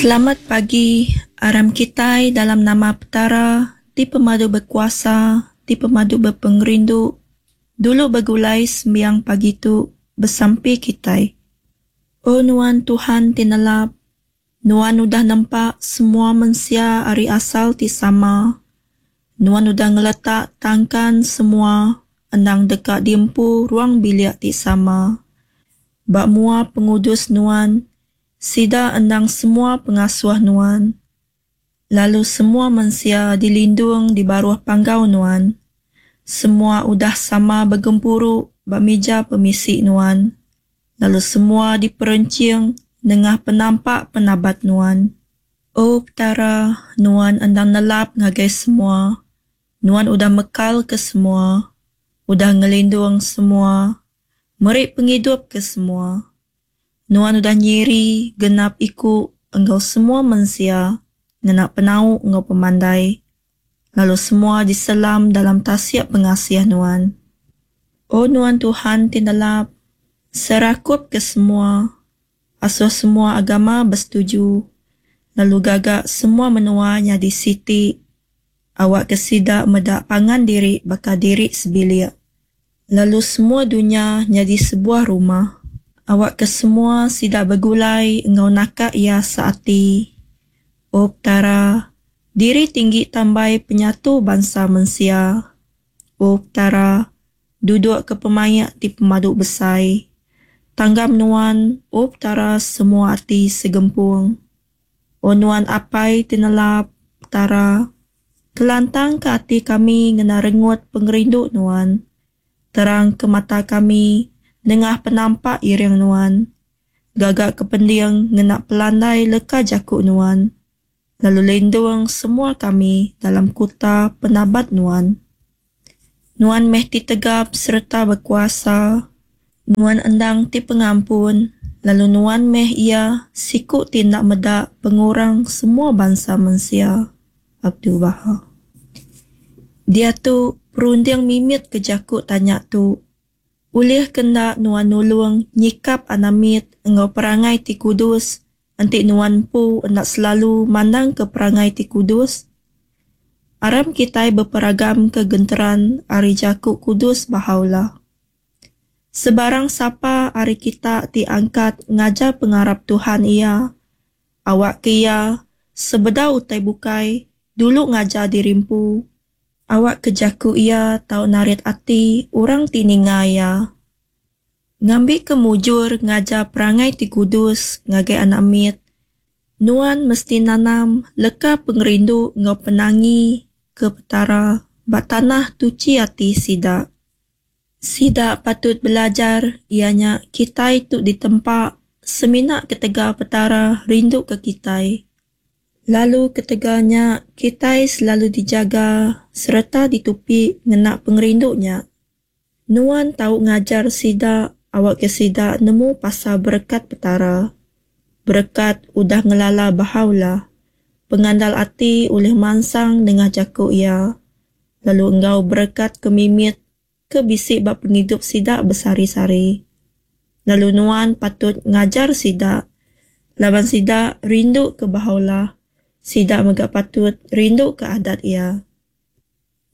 Selamat pagi, aram kitai dalam nama Petara ti pemadu bekuasa, ti pemadu bepengerindu, dulu begulai sembiang pagi tu besampi kitai. O Nuan Tuhan ti nelap, Nuan udah nempa semua mensia ari asal ti sama. Nuan udah ngeletak tangkan semua endang deka diempu ruang bilik ti sama. Ba mua pengudus Nuan, Sida endang semua pengasuh Nuan, lalu semua mensia dilindung di baruh panggau Nuan. Semua udah sama begempuru ba mija pemisi Nuan, lalu semua diperenching nengah penampak penabat Nuan. O Petara, Nuan endang nelap ngagai semua. Nuan udah mekalka semua, udah ngelindung semua, meri pengidup ke semua. Nuan udah nyiri genap iku enggau semua mensia ngena penau enggau pemandai, lalu semua diselam dalam tasik pengasih Nuan. O Nuan Tuhan ti nelap, serakupka semua, asuh semua agama besetuju, lalu gaga semua menua nyadi siti, awakka sida meda pangan diri baka diri sebilik. Lalu semua dunya nyadi sebuah rumah. Awakka semua sida begulai enggau naka iya seati. O Petara, diri tinggi tambai penyatu bansa mensia. O Petara, duduk ke pemaik ti pemadu besai. Tanggam Nuan, O Petara semua ati segempung. O Nuan Apai ti nelap, Petara, kelantangka ati kami ngena rengut pengerindu Nuan. Terangka mata kami nengah penampak iring Nuan. Gagaka pending ngena pelandai leka jaku Nuan, lalu lindung semua kami dalam kuta penabat Nuan. Nuan meh ti tegap sereta bekuasa. Nuan endang ti pengampun, lalu Nuan meh Iya siku ti enda meda pengurang semua bansa mensia. Abdul-Baha. Diatu, perunding mimit ke jaku tanya tu, Ulih ke enda nuan nulung nyikap anak mit enggau perangai ti kudus enti nuan empu enda selalu mandangka perangai ti kudus? Aram kitai beperagamka genteran ari jaku kudus Bahá'u'lláh. Sebarang sapa ari kita ti angkat ngajar pengarap Tuhan iya, Awakka iya, sebedau utai bukai, dulu ngajar diri empu. Awakka jaku iya tau narit ati orang ti ninga iya. Ngambika mujur ngajar perangai ti kudus ngagai anak mit, nuan mesti nanam leka pengerindu enggau penangi ke Petara ba tanah tuchi ati sida. Sida patut belajar iya nya kitai tu ditempa semina ketegal Petara rinduka kitai. Lalu ketegal nya kitai selalu dijaga sereta ditupi ngena pengerindu nya. Nuan tau ngajar sida awakka sida nemu pasal berekat Petara. Berekat udah ngelala Bahá'u'lláh. Pengandal ati ulih mansang nengah jaku Iya. Lalu enggau berekat ke mimit ke bisi ba pengidup sida besehari-sehari. Lalu nuan patut ngajar sida, laban sida rinduka Bahá'u'lláh, sida mega patut rinduka adat Iya.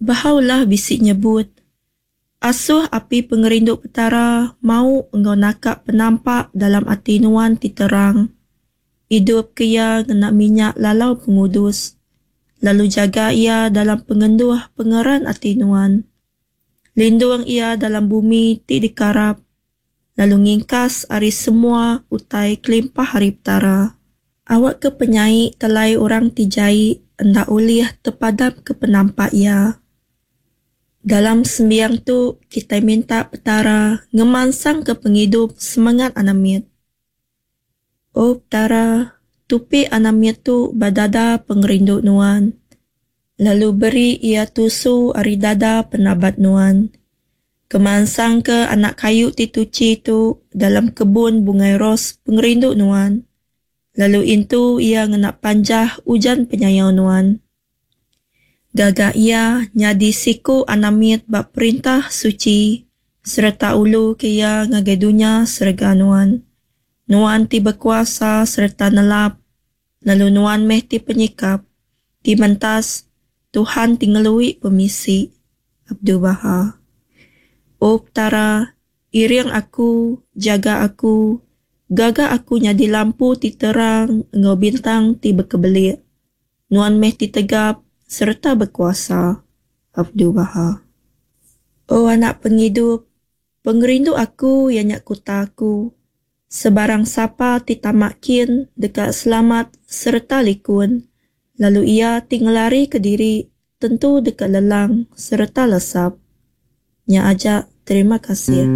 Bahá'u'lláh bisi nyebut, Asuh api pengerindu Petara mau enggau naka penampak dalam ati nuan ti terang. Idupka iya ngena minyak lalau pengudus, lalu jaga iya dalam pengenduh pengeran ati nuan. Lindung iya dalam bumi ti dikarap, lalu ngingkas ari semua utai kelimpah ari Petara. Awakka penyai telai orang ti jai enda ulih tepadamka penampak iya. Dalam sembiang tu, kitai minta Petara ngemansangka pengidup semengat anak mit. O Petara, tupi anak mit tu ba dada pengerindu Nuan, lalu beri iya tusu ari dada penabat Nuan. Kemansangka anak kayu ti tuchi tu dalam kebun bungai ros pengerindu Nuan, lalu intu iya ngena panjah ujan penyayau Nuan. Gaga iya nyadi siku anak mit ba Perintah Suchi sereta uluka iya ngagai dunya serega Nuan. Nuan ti bekuasa sereta nelap. Lalu Nuan meh ti Penyikap, ti Mentas, Tuhan ti ngelui pemisi. Abdu'l-Bahá. O Petara, iring aku, jaga aku, gaga aku nyadi lampu ti terang enggau bintang ti bekebelik. Nuan meh ti Tegap sereta Bekuasa. Abdu'l-Bahá. O Anak Pengidup, pengerindu aku iya nya kuta aku. Sebarang sapa ti tama kin deka selamat sereta likun, lalu iya ti ngelarika diri tentu deka lelang sereta lesap. Nya aja, terima kasih.